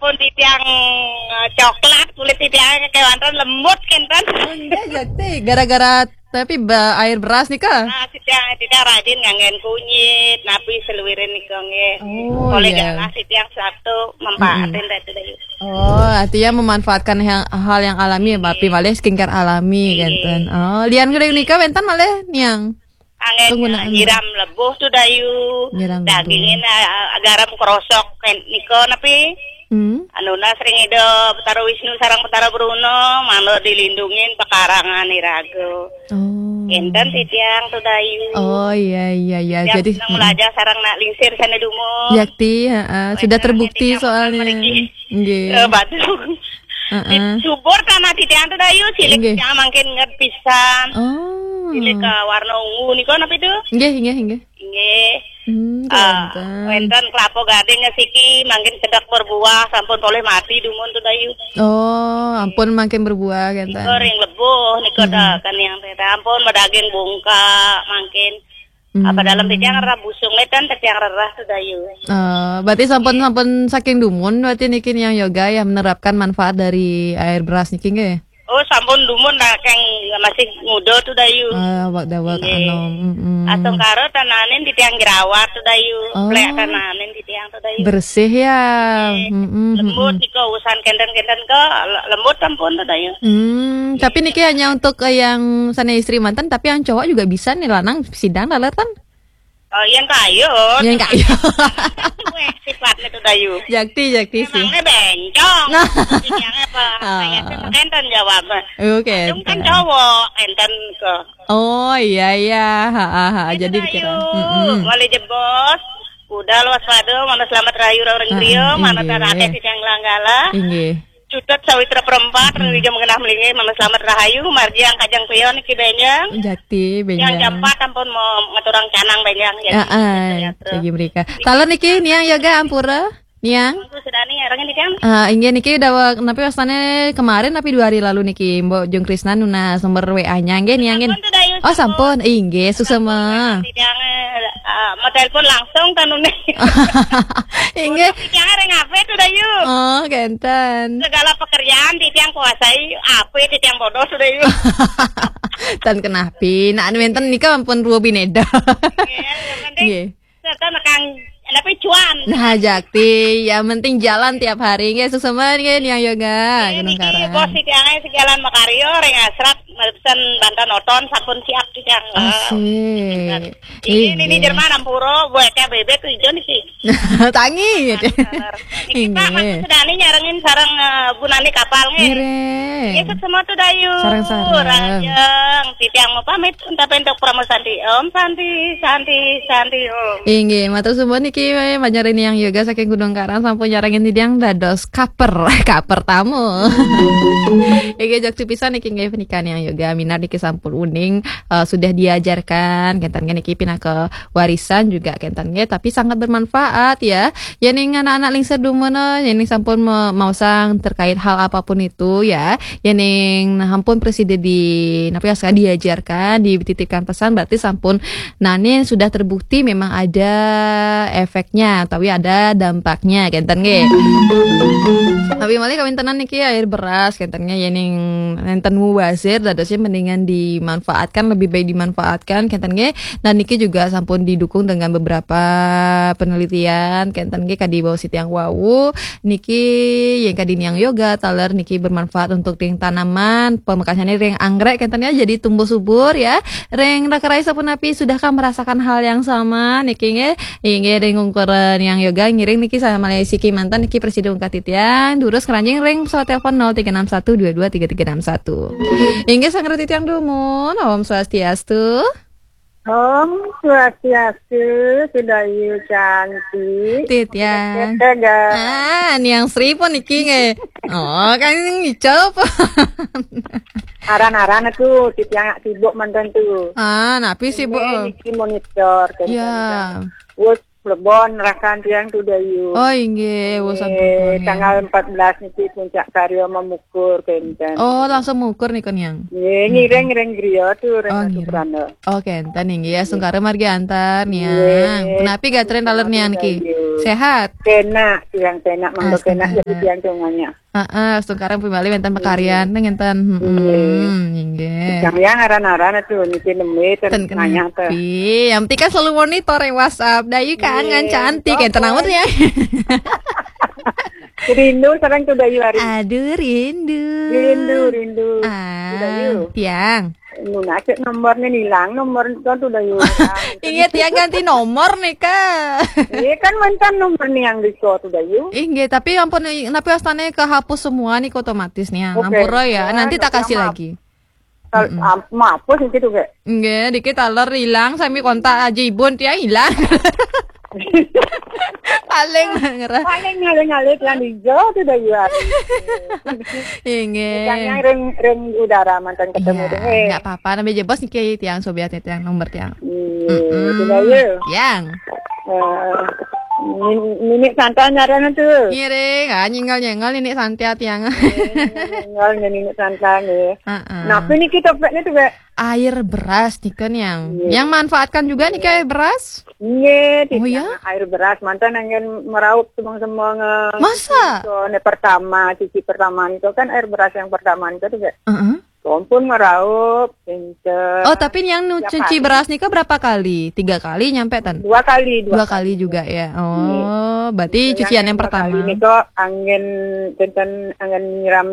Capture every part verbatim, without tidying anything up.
Pun titiang, eh, coklat, kulit titiang kewanten lembut kenten. Oh, enggak, Jakti. Gara-gara tapi ba-, air beras nih, Kak? Nah, titiang, titiang rajin nganggen kunyit, napi seluwirin nika nggih. Oh, oleh iya. Galah titiang Sabtu mempahatin. Mm-mm. Datu Dayu. Oh, artinya memanfaatkan yang, hal yang alami ya, Mbak Pi, malih skincare alami, iya, kenten. Oh, lian kuda nika wenten malih niang? Anggen penggunaan nyiram lebuh tuh Dayu. Nyiram lebuh. Dagingin, eh, garam kerosok, ken-, nika napi? Hmm. Anuna sering Ida Betara Wisnu sareng Betara Bruna, manut dilindungin pekarangan iraga. Oh. Enten titiang tuh Dayu. Oh, iya, iya, iya. Tiap jadi seneng, mm-mm, belajar sareng nak lingsir sana dumun. Jakti, heeh. Sudah terbukti soalnya. Mriki. Nggih. Eh, batu. Heeh. Di subur tanah titiang tuh Dayu, cilik. Nggih. Titiang mangkin nget pisan. Oh. Cilik, eh, warna ungu nika napi tuh? Nggih, nggih, nggih. Nggih. Hmm, eh, wenten. Wenten kelapa gading siki mangkin sedek berbuah, sampun polih mati dumun tuh Dayu. Oh, ampun mangkin berbuah, kenten. Nika ring lebuh, nika, mm-mm, ta-, kan yang teh ampun madaging bungka mangkin. Hmm. Apa dalam titiang rerah busung, ngetan titiang rerah tuh Dayu. Eh, berarti sampun, sampun saking dumun berarti niki niang yoga ya menerapkan manfaat dari air beras niki nggih? Oh, sampun dumun dah keng masih muda tuh Dayu. Ah, awak dawak. Nggih. Anom. Mm-mm. Astungkara tananin titiang jerawat tuh Dayu. Oh. Plek tananin titiang tuh Dayu. Bersih ya. Nggih. Mm-mm, lembut mm-mm. Nika usan kenten-kenten ke le-, lembut sampun tuh Dayu. Hmm, tapi niki hanya untuk, eh, yang sana istri mantan, tapi yang cowok juga bisa nih, lanang sidang dalar kan? Oh, yang kayu. Yang kayu. Cuek sifatnya tuh Dayu. Jakti, Jakti sih. Emangnya bencong. Nah. Yang apa? Ah. Kayak itu kenten jawabnya. Oke. Kadung kan cowok, enten ke. Oh, iya, iya. Ha, ha, ha. Itu jadi Dayu. Dikira. Mm-mm. Wali jebos. Udah luas padu, mana selamat rahayu orang, ah, griya, ah, mana, inggih, tarate sing langgala. Inggih. Cutet sawitra perempat, mm-mm, rijam genah melinggih, mana selamat rahayu, margi yang kajang pion iki benjang. Jakti, benjang. Yang jam empat ampun mau ngaturang canang benjang, ya. Heeh, ya, terus. Jagi mereka. Taler niki niang yoga ampura, niang. Aku sudah nih, orangnya di kan? Ah, inggih niki dawek, napi wastane kemarin napi dua hari lalu niki, Mbok Jung Krisna nunas nomor W A-nya, nggih niang nggih. Sampun tuh, Dayu, oh, sampun. Sampun. Inggih, suksema. Tidak, eh, mau telepon langsung kan, Nune. Inggih. Tidak ada ngapain tuh, Dayu. Oh, kenten. Segala pekerjaan titiang kuasai, apa titiang bodoh sudah yuk. Tan kenapi, nak wenten nika ampun ruo bineda. Nggih, yang penting, nggih, serta nekang, tapi cuan. Nah, Jakti, yang penting jalan tiap hari nggih, suksema nggih niang yoga. Nggih, Gunung niki Karang. Bos titiang sejalan makarya ring asrat mesen bantan oton sampun siap titiang. Asik. Ini, ini, inggih, Jerman ampura, buat bebek tuh ijo niki. Tangi, gitu. Niki, Pak, inggih. Maksud Dani nyarengin sareng, eh, Bu Nani kapal, nggih. Ngiring. Nggih, semua tuh Dayu. Sareng-sareng. Rajeng, titiang mau pamit, entah bentuk promo santi. Om Santi, Santi, Santi, Om. Inggih, matur suwun niki, eh, panjenengan niang yoga saking Gunung Karang sampun nyarengin titiang dados kaper, kaper tamu. Inggih, jakti pisan niki nggih pernikahan niang yoga. Minat niki sampun uning, eh, sudah diajarkan, kenten niki pinaka warisan juga kenten nggih, tapi sangat bermanfaat ya. Yening anak-anak lingsir dumun, yening sampun me-, maosang terkait hal apapun itu ya. Yening ampun presiden di, napa ya, diajarkan, dititipkan pesan, berarti sampun nani sudah terbukti memang ada efeknya, tapi ada dampaknya, kenten nggih. Tapi malih kawintenan niki air beras, kenten nggih, yening nenten mubazir, dadosnya mendingan dimanfaatkan, lebih baik dimanfaatkan, kenten nggih. Dan niki juga sampun didukung dengan beberapa penelitian, kenten nggih, kadi wau sitiang wau. Niki yang kadi niang yoga, taler niki bermanfaat untuk ring tanaman, pamekasane ring anggrek, kenten ya, jadi tumbuh subur ya. Ring raka rai sapunapi, sudahkah merasakan hal yang sama? Niki nggih, inggih ring ungkur niang yoga, ngiring niki sama Malaysia ki mantan niki presiden ungkat titiang, durus keranjing ring pesawat telepon nol tiga enam satu dua dua tiga tiga enam satu. Inggih sang titiang dumun, Om Swastiastu. Om Swastiastu, Sudayu cantik. Titiang. Tega. Ah, niang Sri pun niki nggih. Oh, kan ngicep. Aran-aran aku, titiang sibuk mantan tuh. Ah, napi sibuk? Ini niki monitor, kan, ya. Kan. Wes Plebon rakan tiang tu Dayu. Oh inggih, wusan Eh, Plebon. Tanggal empat belas niki puncak karya mamukur kenten. Oh, langsung mukur nih niang. Nggih, ngiring-ngiring griya tu ring Oh, Ratu ngiring. Prana. Oh, kenten inggih ya, sungkara margi antar niang. Nggih. Punapi gatra taler niang niki? Dayu. Sehat. Kenak, tiang kenak, mangga Ah, kenak sungkara. Dayu tiang tunganya. Heeh, sungkara pun bali wenten pakaryan ngenten. Heeh, inggih. Yang yang aran-aran tu niki nembe ten Ten nanya tu. Kenapi. Yang penting kan selalu monitor ya WhatsApp. Dayu kangen Iya, cantik apa? Enten amat ya. Rindu sareng tu Dayu hari. Aduh rindu. Rindu, rindu. Ah, Dayu. Tiang. Nuna cek nomornya hilang, nomor itu tu Dayu. Inggih tiang ganti nomor nih kak. Iya kan mantan nomor niang di tu Dayu. Inggih, tapi ampun napi wastane kehapus semua nih otomatis nih. Oke. Ampura ya. Ya, Nanti tak nanti kasih maaf. Lagi. Kalau am- maaf pun gitu kayak. Inggih, dikit taler hilang sami kontak Aji Ibun tiang hilang. Paling ngerah. Paling ngalih-ngalih yang hijau tu Dayu hari. Inggih. Yang ring ring udara mantan ketemu Iya, tu. Eh, nggak apa-apa. Nabi jebos niki tiang sobiat tiang nomor tiang. Iya, tu Dayu. Yang. Eh, nin- Nini santai ngaran tu. Ngiring, ah, nyinggal-nyinggal ini santai tiang. Tinggal nyanyi santai ya. Heeh. Nah, ini kita pek ni tu pek. Air beras nih kan yang Iya. yang manfaatkan juga nih kayak beras. Nggih, Oh, tidak. Ya? Air beras mantan angin meraup semang-semang. Masa? So, ni pertama, cuci pertama itu kan air beras yang pertama itu tu pek. Heeh. Kompun meraup, pinter. Oh, tapi yang nu Tiga cuci kali. Beras nih berapa kali? Tiga kali nyampe tan? Dua kali, dua, Dua kali juga ya. Oh, berarti cucian yang dua pertama. Kali ni kok angin tentang angin nyiram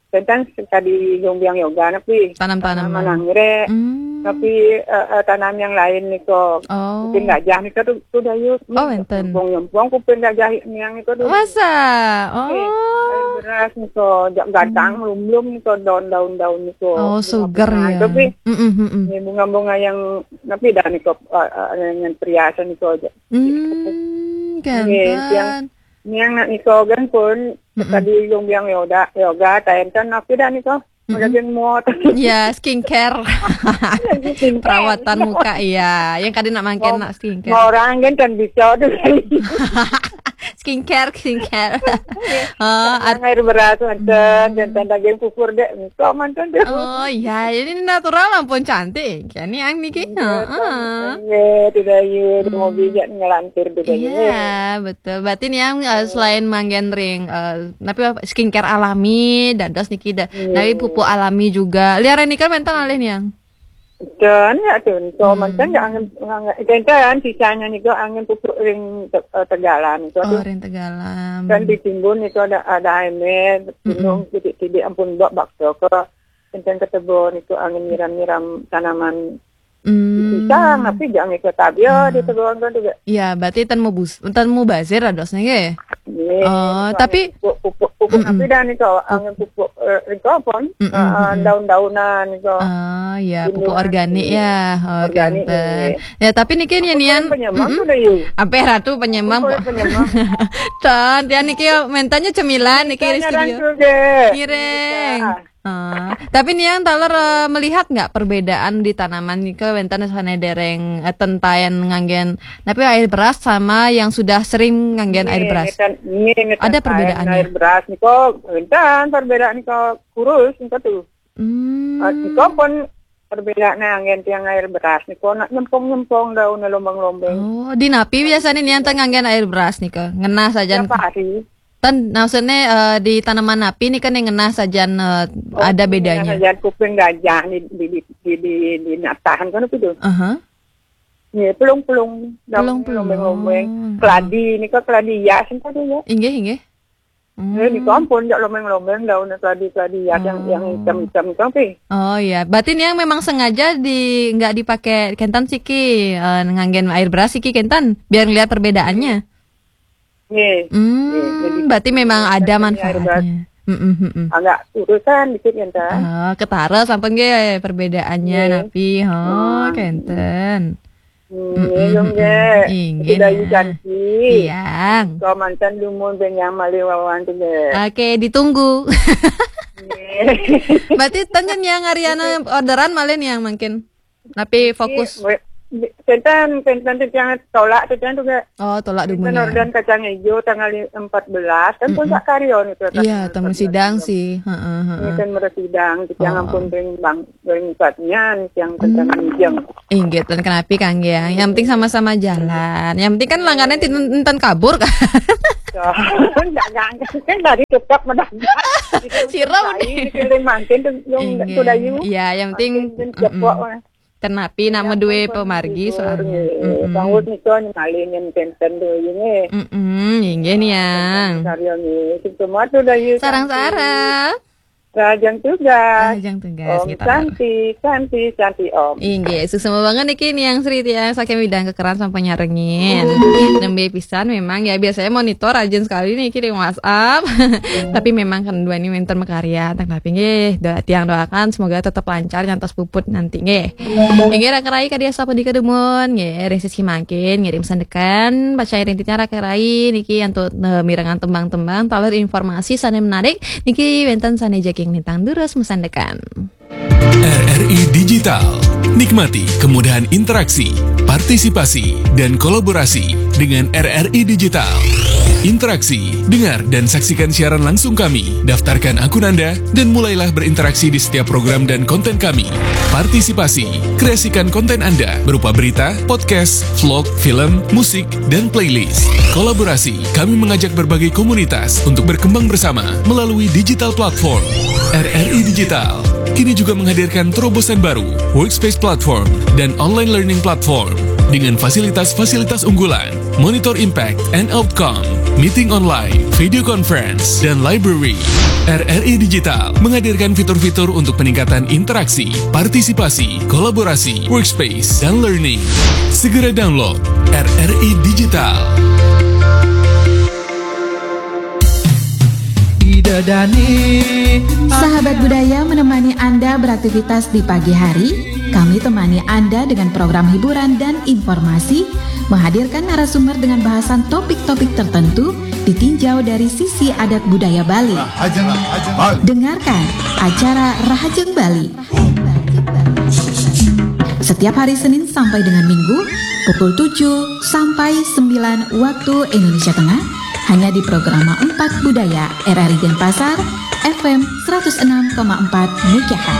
tentang sekali jombiang yoga napi. Tanam-tanaman. Tanaman anggrek. Hmm. Tapi eh, eh, tanam yang lain ni kok. Oh. Kuping gajah ni kok tu, tu Dayu. Oh, enten. Nyempong-nyempong kuping gajah niang ni kok tu. Masa? Air Oh. beras ni kok, jak gadang belum-belum ni kok, daun-daun daun ni kok. Oh, sugar ya. Tapi Mm-mm, mm-mm. ni bunga-bunga yang napi dah ni kok, eh, eh, yang perhiasan ni kok. Hmm, Nggih, tiang kan. Niang nak ni kok kan pun tadi jombiang yoga, yoga, taen kan napi dah ni kok. Udah yang muat. Ya, skincare. Skincare. Perawatan muka ya. Yang kadang nak makan Oh, nak skincare. Orang kan kan bisa tu. Skincare, skincare. Oh, at- Air beras mantan, dan daging pupur dek, kok mantan tu. Oh ya, ini natural ampun cantik. Kan yang niki. Heeh. Ya, tu Dayu, tu mau bijak ngelantur tu Dayu. Iya, betul. Berarti ni yang eh, selain manggen ring, eh, tapi apa, skincare alami, dados niki da, tapi pupuk alami juga. Liaran ni kan mentan alih niang. Dan ya tu, so mantan ya angin, angin, kan sisanya ni kok angin pupuk ring te- eh, Tegalan ni kok tu. Oh, ring Tegalan. Kan ditimbun ni kok ada ada air, gunung titik-titik ampun buat bakso ke. Kencang ketebon itu angin nyiram-nyiram tanaman Hmm. pisang, tapi jangan ikut tabia di teguan kan juga. Ya, berarti tan mau bus, tan mau bazir adosnya nggih. Ni, Oh, itu tapi ada pupuk, pupuk, pupuk tapi dah ni kau angin pupuk eh, ring kau pun Mm-mm, eh, eh, daun-daunan ni kau. Ah, ya, pupuk Tumbuhan, organik iya. Ya, Organik, organik. iya. Ya, tapi niki yang nian Penyemang tu Dayu. Apa ratu penyemang? Boleh penyemang. Tan, dia niki mentannya cemilan niki di Tanya orang studio. tu je. Ngiring. Ah. Ah, tapi nian taler eh, melihat nggak perbedaan di tanaman nika wenten sane dereng eh, tentayan nganggen tapi air beras sama yang sudah sering nganggen air beras? Ngetan- nge- ngetan Ada kain perbedaannya? Air beras ni kau, entan perbedaan ni kau kurus ni kau tu. Hmm. Ah, ni kau pun perbedaan angin tiang air beras ni kau nak nyempong-nyempong daun lombang-lombang. Oh, di napi biasanya nian tenganggen air beras nika? Ngenah sajan. Tiap hari. Tan maksudnya eh, di tanaman napi nih kan yang ngenah sajan eh, ada bedanya. Sajan kuping gajah ni di di di di, di natahan kan apa tu? Aha. Ni pelung-pelung daun Pelung-pelung. Lombang-lombang. Keladi ni kau keladi ya sih tu ya. Inggih, inggih. Hmm. Eh, ni kau ampun jak lombang-lombang daun keladi-keladi ya yang yang hitam-hitam tu apa? Oh iya, berarti nian memang sengaja di nggak dipakai kentan siki eh, nganggen air beras siki kentan biar ngelihat perbedaannya. Ni. Hmm, berarti memang ada manfaatnya. Mm-mm, mm-mm. Agak urusan dikit kan tak? Ah, ketara sampai nggih perbedaannya Nggih. napi. Oh, kenten. Hmm, ya dong deh. Inggih. Sudah cantik. Iya. Kau mantan dumun benyang malih wawan tu deh. Oke, ditunggu. Berarti tanya niang Ariana orderan malih niang mungkin. Tapi fokus. Ni, Tenten, tenten, tenten tolak, tenten juga. Oh, tolak dulu. Tenten ya. Orderan kacang hijau tanggal empat belas, kan puncak karya nih tuh. Iya, temu sidang sih. Heeh, heeh. Ini kan mersidang, jangan pun bang, bang, yang tentang minjem. Inggih, ten kenapi, Kang, ya. Yang penting sama-sama jalan. Yang penting kan langganan tin-, enten kabur, kan? Enggak, enggak. Kan tadi cepat mendadak. Sira udah. Ini keliling mangkin tuh, yang Inggih. Sudah yuk. Iya, yang penting, mangkin, mm-mm. Cepok, Mah. Tenapi nak medue pemargi soalnya. Mm-mm. Bang Wud nika nyemali nyen tenten dulu ini. Mm-mm, inggih nih, Yang. Karya nih. Sing semua tuh udah yuk. Sarang-sarang. Rahajeng tugas. Rahajeng tugas, Om kita Santi, Santi, Santi, Om. Inggih, suksma banget niki nih Yang Sri, ya, saking widang kekeran sampai nyarengin. Nembe pisan memang ya, biasanya monitor rajin sekali niki di WhatsApp. Tapi memang kan dua ini winter makarya, tetapi nggih, doa, tiang doakan semoga tetap lancar nyantos puput nanti nggih. Inggih, Raka Rai, kadya sapa dika dumun nggih, ring sisi mangkin ngirim sandekan, pacai rintitan Raka Rai niki antuk, eh, mirengang tembang-tembang taler informasi sane menarik. Niki wenten sane jagi nglintang durus masandekan. R R I Digital. Nikmati kemudahan interaksi, partisipasi, dan kolaborasi dengan R R I Digital. Interaksi, dengar dan saksikan siaran langsung kami. Daftarkan akun Anda dan mulailah berinteraksi di setiap program dan konten kami. Partisipasi, kreasikan konten Anda berupa berita, podcast, vlog, film, musik, dan playlist. Kolaborasi, kami mengajak berbagai komunitas untuk berkembang bersama melalui digital platform. R R I Digital kini juga menghadirkan terobosan baru, Workspace Platform dan Online Learning Platform, dengan fasilitas-fasilitas unggulan, Monitor Impact and Outcome, Meeting Online, Video Conference, dan Library. R R I Digital menghadirkan fitur-fitur untuk peningkatan interaksi, partisipasi, kolaborasi, workspace, dan learning. Segera download R R I Digital. Sahabat Budaya menemani Anda beraktivitas di pagi hari. Kami temani Anda dengan program hiburan dan informasi, menghadirkan narasumber dengan bahasan topik-topik tertentu, ditinjau dari sisi adat budaya Bali. Dengarkan acara Rahajeng Bali setiap hari Senin sampai dengan Minggu pukul tujuh sampai sembilan waktu Indonesia Tengah, hanya di Programa empat Budaya R R I Denpasar, F M seratus enam koma empat megahertz.